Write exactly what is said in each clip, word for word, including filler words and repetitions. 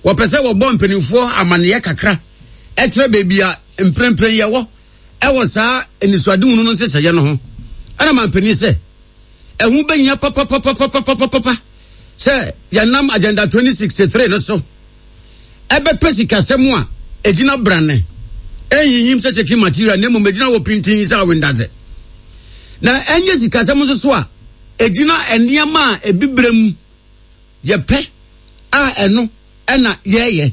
Wɔpɛ sɛ wɔbɔ mpanimfoɔ amanneɛ kakra ɛkyerɛ baabi a mprempren yɛwɔ ɛwɔ saa anisoadehunu no nhyehyɛeɛ no ho. Ɛna mampanin sɛ ɛho bɛhia papapapapapapapa sɛ yɛnam Agenda twenty sixty-three no so ɛbɛpɛ sikasɛm a ɛgyina brane, ɛnyinyim sɛ shaking material, na mmom ɛgyina wɔ pintin sɛ awendadze, na ɛnyɛ sikasɛm nso so a ɛgyina nneɛma a ebibire mu yɛpɛ a ɛno ɛna yɛɛyɛ.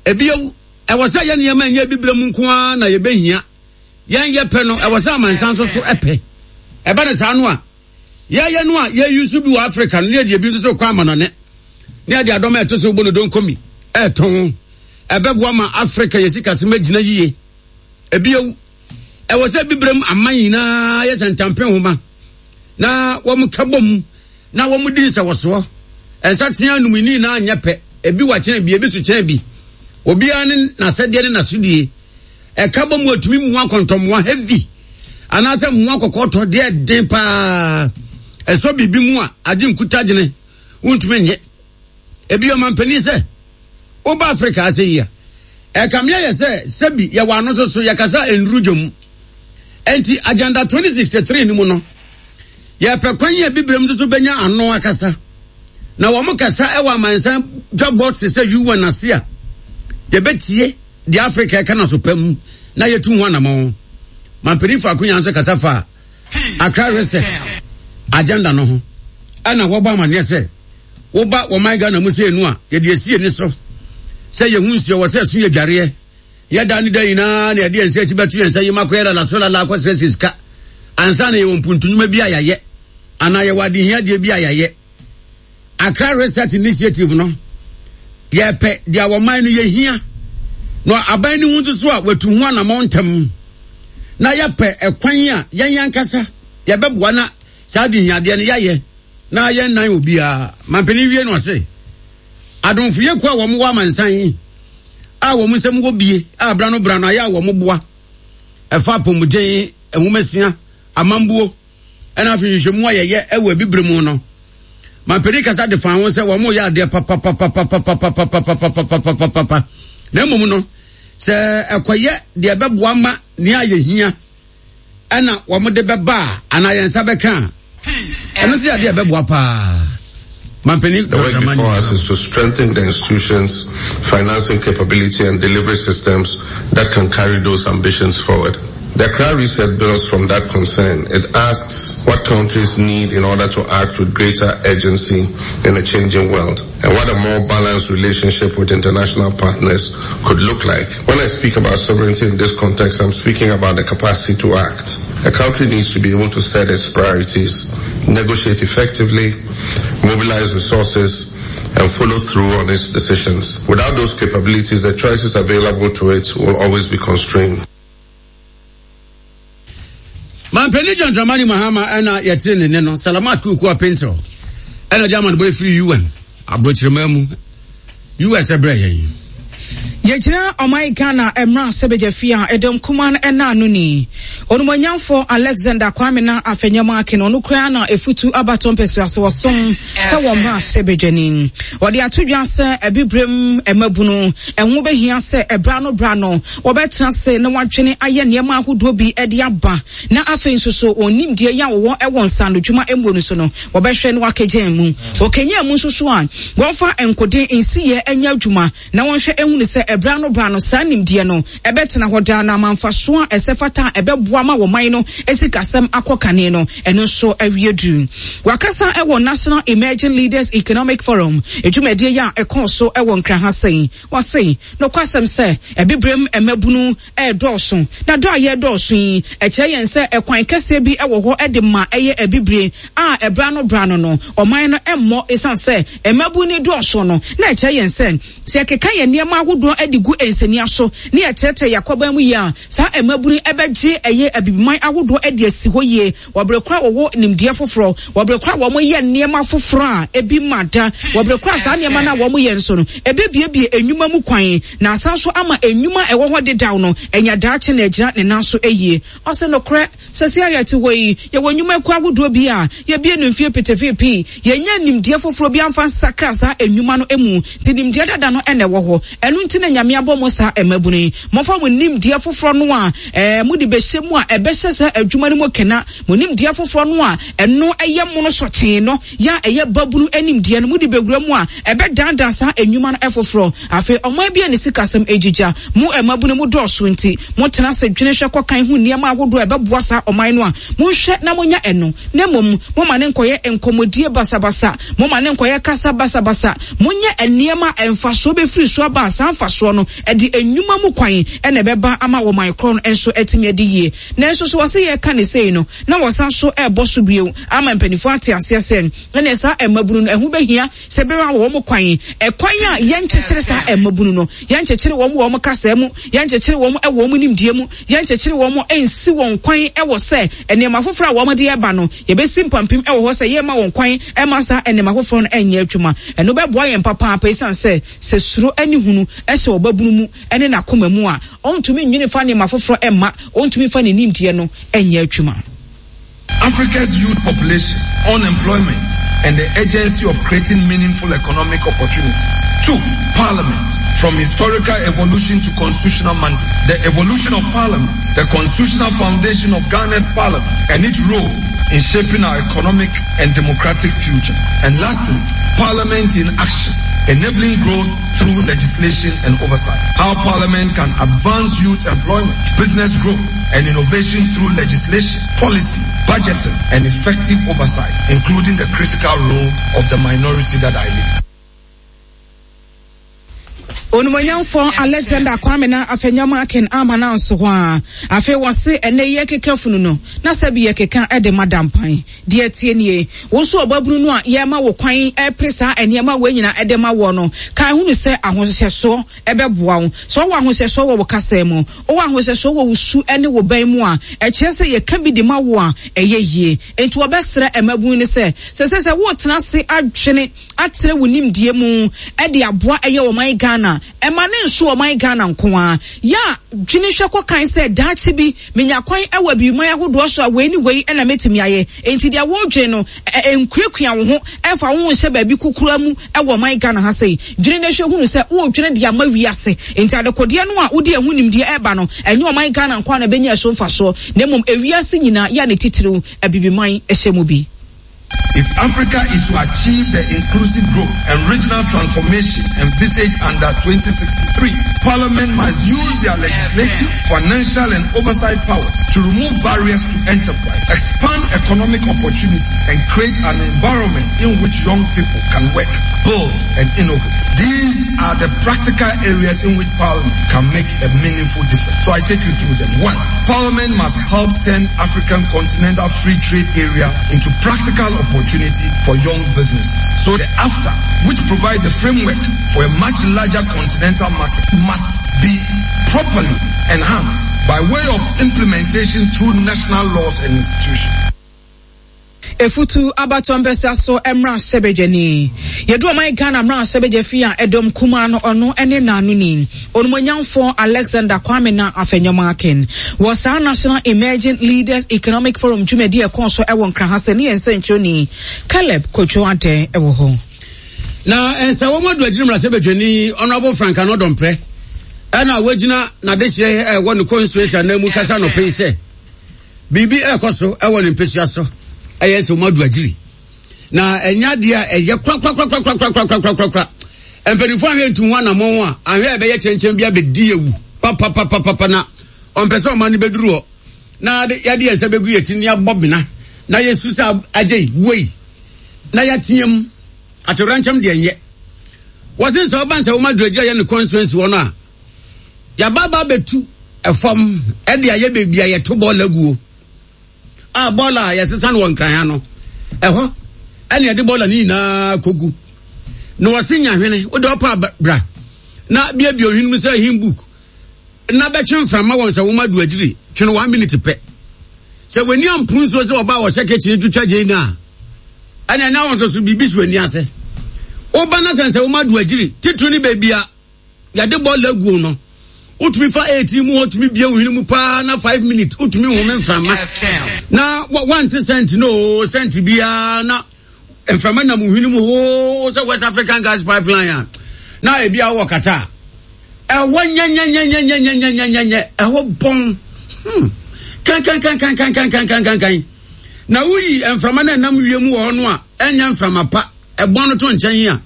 Ebio, ɛwɔ sɛ yɛ nneɛma nyɛ ebibire mu nko ara na yɛbɛhia yɛn yɛpɛ no, ɛwɔ sɛ amansan nso so ɛpɛ. Ɛbɛ ne saa no a yɛyɛ no a yɛyi so bi wɔ Africa no, ne yɛde ebi nso so kɔ amanɔne ne yɛde adɔm a ɛto so bɔ no donkomi ɛɛtɔn, ɛbɛboa ma Africa yɛ sikasɛm agyina yie. Ebio, ɛwɔ sɛ bibirem aman nyinaa yɛ sɛ ntampe nhoma na wɔn ka bɔ mu na wɔn di nsɛwɔsoɔ. Nsateaa num ni nyinaa nyɛ pɛ, ebi wɔ kyɛn bi, ebi so kyɛn bi. Obiara ne n'asɛdeɛ ne n'asodie ɛka bɔ mu atumi mua kɔntɔmmoa heavy anaasɛ mmoa kɔkɔɔtɔ deɛ den paa ɛsɔ biribi mu a agye nkuta gyene wontumi nyɛ. Ebi, ɔmampanin sɛ woba Africa ase yi a, ɛkamea yɛ sɛ sɛbi yɛwɔ ano nso so yɛkasa nduru dwom. Enti Agenda twenty sixty-three no mu no, yɛpɛ kwan yɛ bibirem nso so bɛnya ano akasa na wɔn kasa ɛwɔ amansan dwabɔ te sɛ U N ase a, yɛbɛtie deɛ Africa ɛka na so pɛ mu na yɛtu ho anamɔ. Mampanin faako nya nso kasa fa Accra Reset Agenda no ho, ɛna wɔbɔ amanneɛ sɛ woba wɔman Ghana mu sɛ enu a yɛde esi ani so sɛ yɛhu nsuo wɔ sɛ ɛso yɛ dwareɛ yɛda ne da nyinaa na yɛde yɛn nsa akyi bɛto yɛn nsa yi ma kɔyɛ lala so lala akɔsrɛ sɛ sika ansa na yɛwɔ mpuntunwuma bi a yɛayɛ anaa yɛwɔ adehiadeɛ bi a yɛayɛ. Accra Reset Initiative no, yɛpɛ deɛ wɔman no yɛhia na aban no ho nso so a watu ho anammɔn ntɛm na yɛpɛ ɛkwan a yɛn ankasa yɛbɛboa na saa adehiadeɛ no yɛayɛ na yɛn nan obiara. Mampanin wie no, ɔse adomfo yɛkuo a wɔn wɔ amansan a wɔn nsɛm wɔ bie a brano brano ayɛ a wɔn boa ɛfa apɔmuden, nwomasua, amambuo ɛna afei nhwehwɛmu a yɛyɛ ɛwɔ abibire mu no, mampanin kasa de fa ho sɛ wɔn yɛ adeɛ papapapapapapapapapapapapa, na mmom no sɛ ɛkɔyɛ deɛ ɛbɛboa ma nea yɛhia ɛna wɔn de bɛba a anaa yɛn nsa bɛka a, ɛno nso yɛ adeɛ ɛbɛboa paa. Mampanin The work before us is to strengthen the institutions, financing capability and delivery systems that can carry those ambitions forward. The Accra Reset builds from that concern. It asks what countries need in order to act with greater urgency in a changing world and what a more balanced relationship with international partners could look like. When I speak about sovereignty in this context, I'm speaking about the capacity to act. A country needs to be able to set its priorities, negotiate effectively, mobilize resources, and follow through on its decisions. Without those capabilities, the choices available to it will always be constrained. Mampanin John Dramani Mahama ɛna yɛte ne ne no. Salamat Kuku Apintil ɛna german bɔ efiri U N aburokyerɛma mu U S ɛbrɛ yɛn. Yɛgyina ɔman Ghana mmara sɛ bɛgya fie a ɛdɔm kuma no ɛna ano ni Onumonyamfo Alexander Kwame na Afenyo Markin, ɔno koraa na efutu abatɔ mpɛsua so wɔsom sɛ wɔn mmara sɛ bɛdwani. Wɔde ato dwa sɛ abibirem mmabunu ɛho bɛhia sɛ ɛbra no bra no wɔbɛtena se na wɔadwene ayɛ nneɛma ahodoɔ bi ɛde aba, na afei nso so wɔn nimdeɛ yi a wɔwɔ ɛwɔ nsanodwuma mmuo no so no, wɔbɛhwɛ no wakagyan mu wɔkanya mu nso so a wɔmfa nkoden nsiyɛ nyɛ adwuma na wɔnhwɛ ehunu sɛ ɛbra no bra no saa nimdeɛ no ɛbɛtena hɔ daa na amanfaso a ɛsɛ fata a ɛbɛboa ma wɔn no esikasɛm akɔ kane no, ɛno nso awie duru. Wakasa ɛwɔ National Emerging Leaders Economic Forum edwumadie yi a ɛkɔɔ so ɛwɔ Nkraha sɛn. Wɔse nokwasɛm sɛ ɛbibirem mmabunu ɛɛdɔɔso, na dɔ a yɛdɔɔso yi ɛkyerɛ yɛn sɛ ɛkwan kɛseɛ bi ɛwɔ hɔ ɛde ma ɛyɛ abibire a ɛbra no bra no no ɔman no ɛmmɔ, ɛsiane sɛ mmabunu dɔɔso no, na ɛkyerɛ yɛn sɛ sɛ yɛkeka yɛn nneɛma ahodoɔ de gu nsania so ne yɛkyerɛkyerɛ yɛakɔban mu yie a, saa mmabunu ɛbɛgye ɛyɛ. abie abibiman ahodoɔ de asi hɔ yie wɔbere kora wɔwɔ nimdeɛ foforɔ, wɔbere kora wɔn yɛ nneɛma foforɔ a ebi ma da, wɔbere kora saa nneɛma no a wɔn yɛ nso no ebebiebie enwuma mu kwan na asan so ama enwuma ɛwɔ hɔ dedaw no enya daakye na egyina ne nan so eyie. Ɔsɛ nokorɛ sɛsɛ a yɛte hɔ yi, yɛwɔ nnwuma kuo ahodoɔ bi a yɛbie no mfie petepeepii, yɛnya nimdeɛ foforɔ bi amfa nsakra saa nnwuma no mu, nti nimdeɛ dada no ɛna ɛwɔ hɔ. Ɛno nti na Nyame abɔ mo saa mmabunu yi, momfa mo nimdeɛ foforɔ no a ɛɛ mode bɛhyɛ mu a ɛbɛhyɛ saa adwuma no mu kena. Mo nimdeɛ foforɔ no a ɛno ɛyɛ mono sɔkyee no yɛ a ɛyɛ babunu nimdeɛ no mode bɛwura mu a ɛbɛdandan saa nnwuma no ɛfoforɔ. Afei ɔman bi a ne sikasɛm egyigya, mo mmabunu mu dɔɔso nti motena ase dwene hwɛ kɔkan ho nneɛma ahodoɔ a ɛbɛboa saa ɔman no a monhwɛ na monya ɛno, na mmom moma ne nkɔyɛ nkɔmmɔdie basabasa, moma ne nkɔyɛ kasa basabasa, monyɛ nneɛma a mfasoɔ bɛfiri so aba a saa mfasoɔ no ɛde nnwuma mu kwan ɛna ɛbɛba ama wɔman korɔ no nso atumi adi yie. Nanso so wɔsɛ yɛka ne sei no na wɔsan so ɛrebɔ so bio ama mpanimfoɔ ate aseɛ sɛ ɛne saa mmabunu no ɛho bɛhia sɛ bɛma wɔn kwan, ɛkwan a yɛnkyekyere saa mmabunu no, yɛnkyekyere wɔn wɔ wɔn kasa mu, yɛnkyekyere wɔn wɔ wɔn nimdeɛ mu, yɛnkyekyere wɔn nsi wɔn kwan ɛwɔ sɛ nneɛma foforɔ a wɔn de ɛba no yɛbɛsi mpampim ɛwɔ hɔ sɛ yɛma wɔn kwan ɛma saa nneɛma foforɔ no ɛnyɛ adwuma. Ɛno bɛboa yɛn papaapa, esiane sɛ sɛ suro ɛne hunu ɛhyɛ ɔbabunu mu ɛne n'akoma mu a ɔntumi nwene fa nneɛma foforɔ ɛma ɔntumi fa ne nimdeɛ no ɛnyɛ adwuma. Africa's youth population, unemployment, and the urgency of creating meaningful economic opportunities. Two, Parliament, from historical evolution to constitutional mandate. The evolution of Parliament, the constitutional foundation of Ghana's Parliament, and its role in shaping our economic and democratic future. And lastly, Parliament in action, enabling growth through legislation and oversight. How Parliament can advance youth employment, business growth, and innovation through legislation, policy, budgeting, and effective oversight, including the critical role of the minority that I lead. Onumonyamfo Alexander Kwame na Afenyo-Markin ama na nso hɔ a afei wɔse ɛnɛ yɛ keka funu no na sɛ bi yɛ keka ɛde madampan deɛ tie nie. Wo nso ɔbabunu no a yɛma wo kwan ɛpere saa nneɛma wei nyinaa ɛde ma wɔ no, kan hunu sɛ ahohyɛsoɔ ɛbɛboa wo. Sɛ ɔwɔ ahohyɛsoɔ wɔ wo kasa mu, ɔwɔ ahohyɛsoɔ wɔ wo su ɛne wo bɛn mu a, ɛkyerɛ sɛ yɛka bi de ma wo a ɛyɛ yie. Enti wɔbɛsrɛ mmabunu no sɛ sɛ sɛ sɛ wotena ase adwene atrɛ wo nimdeɛ mu ɛde aboa ɛyɛ ɔman Ghana, ɛma ne nso ɔman Ghana nko a, yɛ a dwene hwɛ kɔkan sɛ daakye bi menya kwan ɛwɔ abibiman ahodoɔ so a wei ne wei ɛna mɛtumi ayɛ. Enti deɛ wɔredwene no nkuakua wo ho ɛmfa wo ho nhyɛ baabi kukura mu ɛwɔ ɔman Ghana ha sei. Dwene no hwɛ hunu sɛ wɔredwene de ama wiase. Enti adekodeɛ no a wode ɛho nimdeɛ ɛba no, ɛnyɛ ɔman Ghana nko a na ɛbɛnya ɛso mfasoɔ, na mmom ewiase nyinaa yɛ a ne titiriw abibiman ɛhyɛ mu bi. If Africa is to achieve the inclusive growth and regional transformation envisaged under twenty sixty-three, Parliament must use their legislative, financial and oversight powers to remove barriers to enterprise, expand economic opportunity, and create an environment in which young people can work, build, and innovate. These are the practical areas in which Parliament can make a meaningful difference. So I take you through them. One, Parliament must help turn African continental free trade area into practical opportunity for young businesses. So the AFTA, which provides a framework for a much larger continental market, must be properly enhanced by way of implementation through national laws and institutions. Efutu abato mpɛsɛ so emra hyɛbedwani yedu ɔman Ghana mra hyɛbedwa fi a edom kuma no ɔno ene nanu ni Onumonyamfo Alexander Kwame na Afenyo-Markin wɔ saa National Emerging Leaders Economic Forum dwumadi ɛkɔ so ɛwɔ Nkran ha sɛ ne yɛn nsɛnkyerɛni Caleb Kotwo Ade ɛwɔ hɔ. Na ɛnsɛ wɔn adu agyina mra hyɛbedwani Honorable Frank Anodɔmprɛ ɛna wɔgyina n'adehyɛ ɛwɔ ne constituency anan mu kasa no pɛi sɛ biribi ɛkɔ so ɛwɔ ne mpesua so ɛyɛ sɛ wɔn adu agyiri na ɛnya deɛ a ɛyɛ korakorakorakorakorakorakorakora mpanimfoɔ ahwɛ ntum ho anamɔn a ahwɛ a ɛbɛyɛ kyɛnkyɛn bi abɛdi ewu papapapapa na ɔmpɛ sɛ ɔman no bɛduru hɔ na yɛde yɛn nsa bɛgu yɛn ti ne abɔ bena na yɛsu sɛ agye yi wei na yɛteɛ mu atewurankyɛm deɛ nyɛ wɔsen sɛ ɔba nsɛ wɔn adu agyiri ayɛ ne constituency hɔ no a yɛaba abɛtu ɛfam ɛde ayɛ beebi a yɛto bɔɔl aguo a bɔɔl a yɛsesa no wɔ Nkran ha no ɛhɔ ɛne yɛde bɔɔl no nyinaa kogu na wɔse nyahwene wode ɔpa bra na biabia ohwene mu sɛ hin book na bɛtwe mframa wɔn sɛ wɔn adu agyiri twene one minute pɛ Sɛ w'ani ampo nsuo sɛ ɔbaa wɔhyɛ kitchen twitwa gyeene a, ɛna ɛna wɔn nso so biribi si w'ani ase. Woba na sɛ sɛ woma do agyiri titiri ne baabi a yɛde bɔɔla aguo no, wotumi fa eighteen mu hɔ tumi bie wo hwene mu paa na five minutes wotumi home mframa na wante sɛnti no o sɛnti biara na mframa nam wo hwene mu hoo sɛ West African Gas Pipeline a na ebi a wɔ kata ɛhɔ nyɛnyɛnyɛnyɛnyɛnyɛnyɛnyɛ ɛhɔ bɔn hmm kankankankankankankankankan na woyi mframa na ɛnam wiem wɔ hɔ no a ɛnyɛ mframa pa ɛbɔn no to nkyɛn a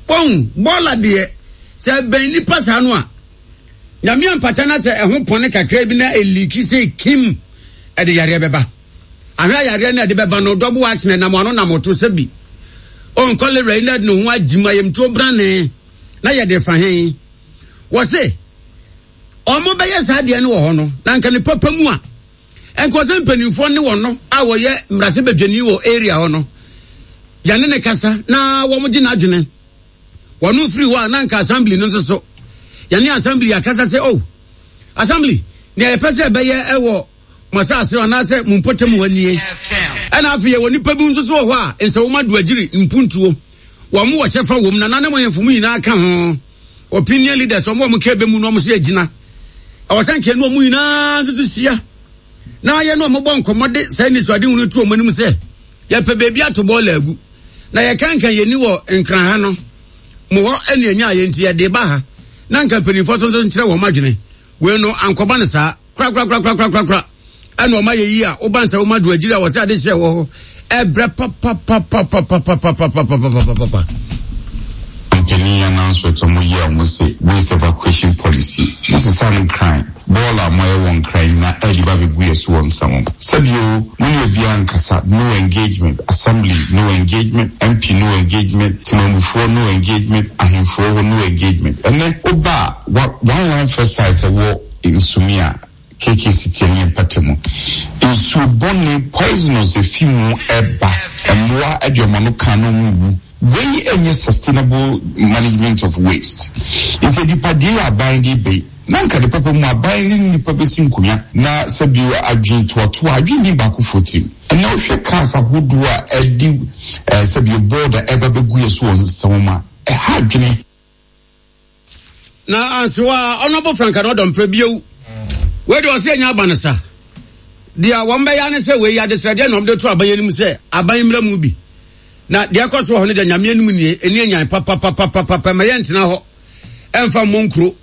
wɔn bɔɔla deɛ sɛ ɛbɛn nipa saa no a nyame ampata na sɛ ɛho pɔne kakra bi na eliki sɛ kim ɛde yareɛ bɛba ahwɛ yareɛ no ɛde bɛba no dɔbo akyene nam ano nam to sɛ bi on cholera yi na ɛde ne ho agyim ayamtuo brane na yɛde fa he wɔ se ɔmo bɛyɛ saa deɛ no wɔ hɔ no na nka ne papa mu a ɛnkɔ sɛ mpanimfoɔ ne wɔn no a wɔyɛ mmarahyɛbadwani wɔ area hɔ no yɛne ne kasa na wɔn gye n'adwene wɔn firi hɔ a na nka assembly no nso so yɛne assembly akasa sɛ oh assembly nea yɛpɛ sɛ ɛbɛyɛ ɛwɔ mo asase anaasɛ mo mpɔtam hɔ nie ɛna afei yɛwɔ nipa bi nso so wɔ hɔ a nsɛwoma do agyiri mpuntuo wɔn mo wɔ kyɛfa wɔm na nanom ahemfo mu nyinaa ka ho opinion leaders wɔn a wɔn ka ebe mu no wɔn so gyina ɛwɔ sɛ nkɛn no wɔn nyinaa nso so hyia na yɛ no wɔn bɔ nkɔmɔ de saa nisuade hunu to wɔn anim sɛ yɛpɛ beebi ato bɔɔla agu na yɛka nka yɛn ni wɔ nkran ha no mo hɔ ɛna enya yɛn ti yɛde ba ha na nka mpanimfoɔ nso nso nkyerɛ wɔn adwene wei no ankɔba ne saa kora kora kora kora kora kora ɛna wɔn ayɛ yi a woba nsa wɔn ado agyiri a wɔsɛ ade hyɛ wɔ hɔ ɛbrɛ papapapapapapapapapapapa. Company announcement ɔmo yɛ ɔmo sɛ waste evacuation policy mo sisa no nkran bɔɔla a mo ayɛ wɔ nkran na ɛde ba bɛgu yɛ so wɔ nsɛm sɛbio mo ne obiara nkasa, no engagement, assembly no engagement, M P no engagement, temamufoɔ no engagement, ahemfoɔ wɔ no engagement. Ɛnɛ woba a one landfill site ɛwɔ Nsumi a K K C T ne mpata mu nsuo bɔne poisonous efi mu ɛba mmoa ɛde ɔmo ano kan no mu wu. Wei ɛnyɛ sustainable management of waste. Nti adipadeɛ yɛ aban de bɛyi na nka de papa mu aban ne nipa bɛsi nkonnwa na sɛbi adwene toatoa adwene ni baako fo tirim. Ɛnna wohwɛ cars ahodoɔ a ɛde ɛɛ sɛbi bɔɔda ɛba bɛgu yɛ so wɔ nsɛm a ɛha adwene. Na ansewa ɔnɔbɔ franka na ɔdɔmpɛ bio wei de ɔsɛ ɛnya aba no sa deɛ wɔn bɛyɛ ne sɛ wei adesrɛdeɛ na wɔde to aban anim sɛ aban mmra mu bi na deɛ ɛkɔ so wɔ hɔ no deɛ nyame anim nie ɛni anyan papapapapapa ma yɛntena hɔ ɛmfa mmɔ nkuro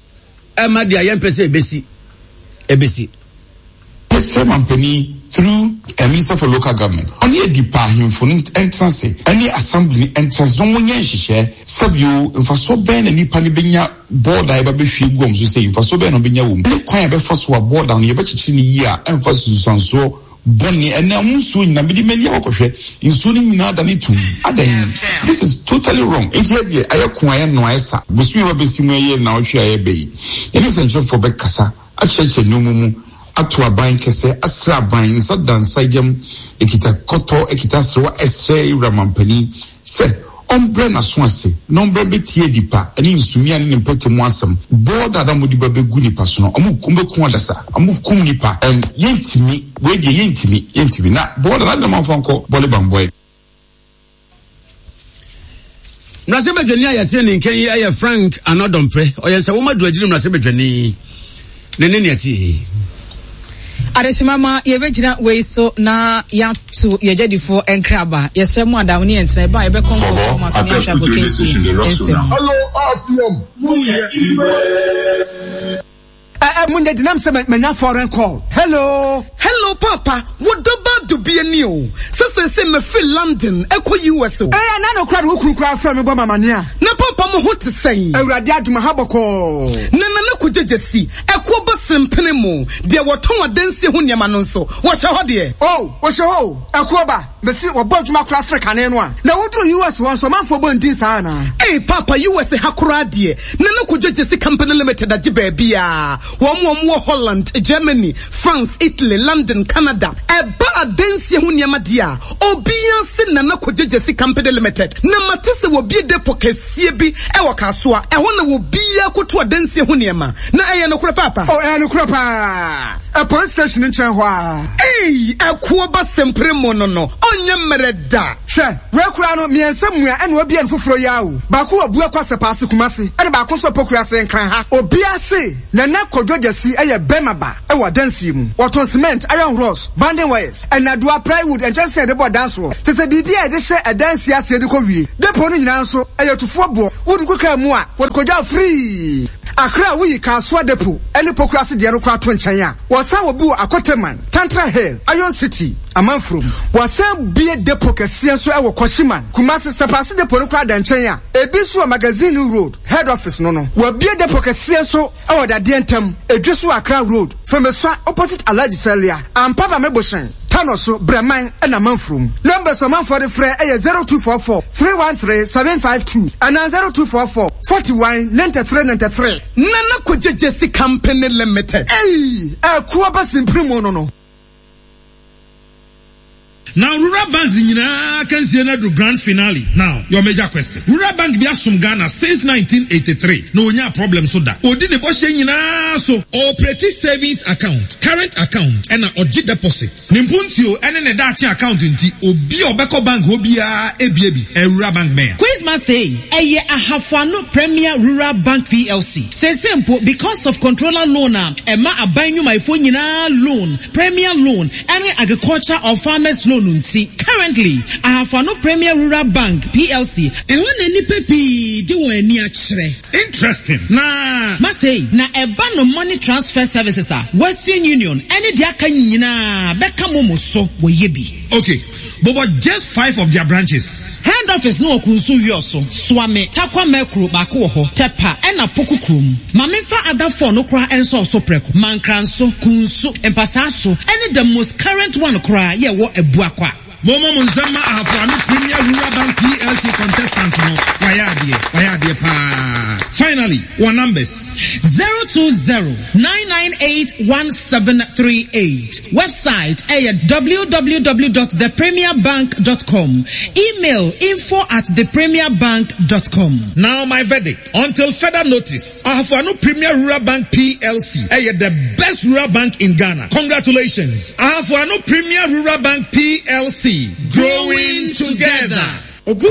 ɛma deɛ yɛmpɛ sɛ ɛbɛsi ɛbɛsi. Yɛsrɛ mampanin through a Minister for Local Government ɔne adi pa ahemfo no ntena ase ɛne assembly no ntena ase na wɔnyɛ nhyehyɛ. Sɛbio mfasoɔ bɛn na nipa no bɛnya bɔɔda a yɛba bɛhwie gu wɔn so sɛ mfasoɔ bɛn na ɔbɛnya wɔ mu ne kwan a yɛbɛfa so a bɔɔda no yɛbɛkyekyere no yie a ɛmfa sunsuansoɔ bɔne. Ɛnɛ ɔmo nsuo nyinaa mede m'ani akɔkɔhwɛ nsuo no nyinaa da ne tum adan. This is totally wrong. Nti yɛ deɛ ayɛ ko ayɛ no ayɛ sa bosome a bɛsi mu ɛyɛ naawɔtwe a yɛbɛ yi yɛne nsɛnkyerɛfoɔ bɛkasa akyerɛkyerɛ nneɛma mu ato aban kɛsɛ asrɛ aban nsa da nsa yam ekita kɔtɔ ekita serewa ɛsrɛ ewura mampanin sɛ ɔmbrɛ n'aso ase na ɔmbrɛ bɛtie nipa ɛne nsumia ne ne mpɛtɛ mu asɛm. Bɔɔda a mo de ba bɛgu nipa so no ɔmo kum bɛkum adasa ɔmo kum nipa ɛn yɛntumi wei deɛ yɛntumi yɛntumi na bɔɔda na de ɔmo nkɔ bɔle bambɔɛ. Mmarahyɛbadwani a yɛte ne nkyɛn yi yɛ Frank Annoh-Dompreh ɔyɛ sɛ wɔn adu agyiri mmarahyɛbadwani ne ne nea tie. Adehyema ma yɛbɛgyina wei so na yɛato yɛdwadifoɔ nkraba yɛsrɛ mu adam ne yɛntena ɛba a yɛbɛkɔ nkɔkɔ ma so ne ahwɛ abɔkansie nsɛm. Hello, R C M. Ɛ mu nyɛ dinam sɛ manya foreign call. Hello. Hello, Papa. Wo dɔba dubie ni o. Sɛ sɛ sɛ mefiri London ɛkɔ U S o. Ɛyɛ na no kora de wo kunu kora frɛ me bɔ mamane a. Na papa mo ho te sɛn? Awurade adom ha bɔkɔɔ. Na nana kɔgyegye si ɛkoɔ bɔ sempene mu deɛ wɔtɔn adansie ho nneɛma no nso wɔhyɛ hɔ deɛ. Oh, wɔhyɛ hɔ o. Ɛkoɔ ba mesi wɔbɔ adwuma kora sere kane no a. Na woduru U S hɔ nso ɔmanfoɔ bɔ ndin saa anaa? Ee Papa, U S ha koraa deɛ Nana Kɔgyegye si Company Limited agye baabi a wɔn wɔn wɔ Holland, Germany, France, Italy, London, Canada. Ɛba adansie ho nneɛma deɛ a obiara se Nana Kɔgyegye si Company Limited. Na mate sɛ wɔbie depo kɛseɛ bi ɛwɔ Kasoa ɛhɔ na wɔbiara koto adansie ho nneɛma na ɛyɛ nokorɛ, Papa? Oh, ɛyɛ nokorɛ paa. A police station nkyɛn hɔ a. Ei, ɛkoɔ ba sempere mu no no, ɔnyɛ mmerɛ da. Hwɛ, wei koraa no, mmiɛnsa mua ɛna obi ɛn foforɔ yi awo. Baako wɔ Buakwa Sɛpaase Kumasi, ɛna baako nso Pokuase Nkran ha. Obiara se, Nana Kojo Gyasi ɛyɛ bɛrima ba ɛwɔ adansie mu. Wɔtɔn cement, iron rods, bonding wires, ɛnadoa, plywood, nkyɛnsee a yɛde bɔ dan soɔ. Te sɛ biribi a yɛde hyɛ adansie aseɛ de kɔ wie. Depo no nyinaa nso, ɛyɛ tufoɔ boɔ. Wode gu kaa mu a, wɔde kɔgya free. Accra woyi Kasoa Depo ɛne Pokuase deɛ no koraa to nkyɛn a, wɔsan wɔ bi wɔ Akoteman, Tantra Hill, Iron City, Amanfurom. Wɔsan bie depo kɛseɛ nso ɛwɔ Kwashiman, Kumasi, Sapase depo no koraa da nkyɛn a, ebi nso wɔ Magazine Road, head office no no. Wɔabie depo kɛseɛ nso ɛwɔ Dadeɛ Ntam, Edwe so wɔ Accra Road, Fomesua opposite Alhaji Salia, Ampaba Mebohyɛn, Tano so, Breman ɛna Amanfurom. Numbers ɔmanfoɔ de frɛ ɛyɛ zero two four four three one three seven five two anaa zero two four four forty one ninety three ninety three. Nana Kojo Gyasi Company Limited. Ei, ɛkoɔ ba simpiri mu no no. Now, rural banks nyinaa can see another grand finale. Now, your major question. Rural bank bi asom Ghana since nineteen eighty-three. No onya problem so da. Odi ne bɔhyɛ nyinaa so. Operate savings account, current account, ɛna ɔgye deposit. Ne mpuntuo ɛne ne daakye account nti obi a ɔbɛkɔ bank hɔ biara ebie bi. Ɛ rural bank bɛn. Quizmaster yi, ɛyɛ Ahafoano Premier Rural Bank P L C. Sese mpo, because of controller loan a ɛma aban nnwumayɛfoɔ nyinaa loan, premier loan, ɛne agriculture or farmers loan nti, currently, Ahafoano Premier Rural Bank P L C ɛhɔ na nnipa pii de wɔn ani akyerɛ. Interesting. Na Master yi, na ɛba no money transfer services a Western Union ɛne deɛ aka nyinaa bɛka mo mo so wɔyɛ bi. Okay. But, but just five of their branches. Head office no wɔ Kunsu Wiɔso, Suame, Takwa Mɛkuro baako wɔ hɔ, Tɛpa ɛna Poku kurom. Maame nfa adafoɔ no koraa nso ɔso prɛko, Mankranso, Kunsu, Mpasaaso ɛne the most current one koraa yɛ wɔ Abuakwa. Momo mo nsɛm ma Ahafoano Premier Rural Bank P L C contestant no. Wayɛ adeɛ. Wayɛ adeɛ paa. Finally, one numbers. zero two zero nine nine eight one seven three eight. Website ɛyɛ w w w dot the premier bank dot com. Email info at the premier bank dot com. Now my verdict. Until further notice, Ahafoano Premier Rural Bank P L C ɛyɛ the best rural bank in Ghana. Congratulations. Ahafoano Premier Rural Bank P L C. Growing together. Edi